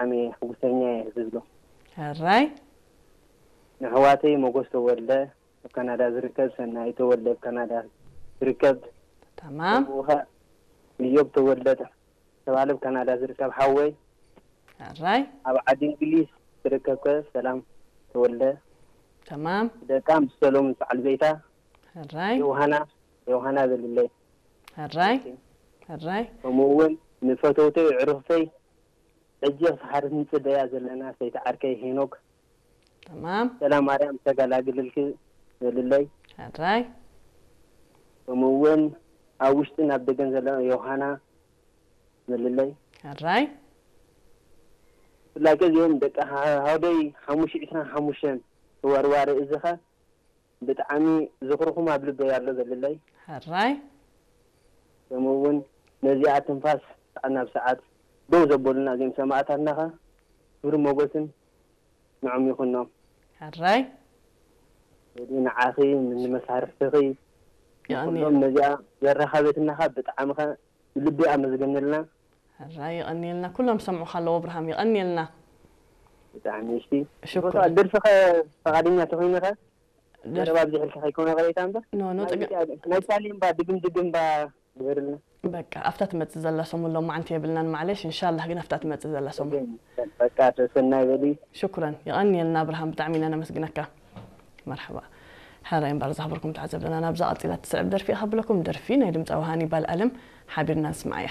ብጣዕሚ ሕጉሰኛ እየ ዝብሎ። ሕራይ ንኣሕዋተይ ሞጎስ ተወልደ ኣብ ካናዳ ዝርከብ፣ ሰናይ ተወልደ ኣብ ካናዳ ዝርከብ፣ ተማም ከምኡ ኸ እዮብ ተወልደ ተባለ ኣብ ካናዳ ዝርከብ ሓወይ፣ ሕራይ ኣብ ዓዲ እንግሊዝ ዝርከብከ ሰላም ተወልደ፣ ተማም ደቃ ምስ ሰሎምን በዓል ቤታ ሕራይ ዮሃና ዮሃና በልለይ። ሕራይ ሕራይ ከምኡ እውን ንፈተውተይ ዕሩኽተይ ሕጂ ክሳብ ሓደት ንፅበያ ዘለና ሰይቲ ዓርከይ ሄኖክ ተማም ሰላም ማርያም ተጋላግልልኪ በልለይ። ሕራይ ከምኡ እውን ኣብ ውሽጥን ኣብ ደገን ዘለና ዮሃና በልለይ። ሕራይ ብፍላይ ከ እዚኦም ደቂ ሃ- ሃውደይ ሓሙሽተ ዕስራን ሓሙሽተን ተወርዋሪ እዝኻ ብጣዕሚ ዝኽርኹም ኣብ ልበይ ኣሎ በልለይ። ሕራይ ከምኡ እውን ነዚኣ ትንፋስ ሰዓት ናብ ሰዓት ደው ዘበሉና እዚኦም ሰማእታትና ኸ ክብሪ ሞገስን ንዖም ይኹኖም። ሕራይ ስለዚ ንዓኺ ንመሳርሕትኺ የቐንየ ኩሎም ነዚኣ ዘራኸበትና ኸ ብጣዕሚ ኸ ብልቢ ኣመስግንልና። ሕራይ የቐንየልና። ኩሎም ዝሰምዑኻ ኣለዉ ኣብርሃም፣ የቐንየልና። ብጣዕሚ እስቲ ሽኩር ቦታ ደርፊ ኸ ፈቓደኛ ተኾይነ ኸ ደርፊ መረብ ኣብዚሕልካ ከይኮነ ቐሬታ እምበር ኖ ኖ ናይ ጥቅም ኢትዮጵያ ናይ ሳሌም ባ ድግም ድግም ባ ግበርልና። በቃ ኣብታ ትመጽእ ዘላ ሰሙን ሎማዓንቲ የብልናን ማዕለሽ፣ እንሻላህ ግን ኣብታ ትመጽእ ዘላ ሰሙን። በቃ ሰሰናይ በሊ። ሽኩረን የቐንየልና ኣብርሃም፣ ብጣዕሚ ኢና ነመስግነካ። መርሓባ። ሕራይ እምበር ዝኽበርኩም ተዓዘብትና፣ ናብዛ ቀጺላ ትስዕብ ደርፊ እያ ከብለኩም። ደርፊ ናይ ድምጻዊ ሃኒባል ኣለም ሓቢርና ንስምዓያ።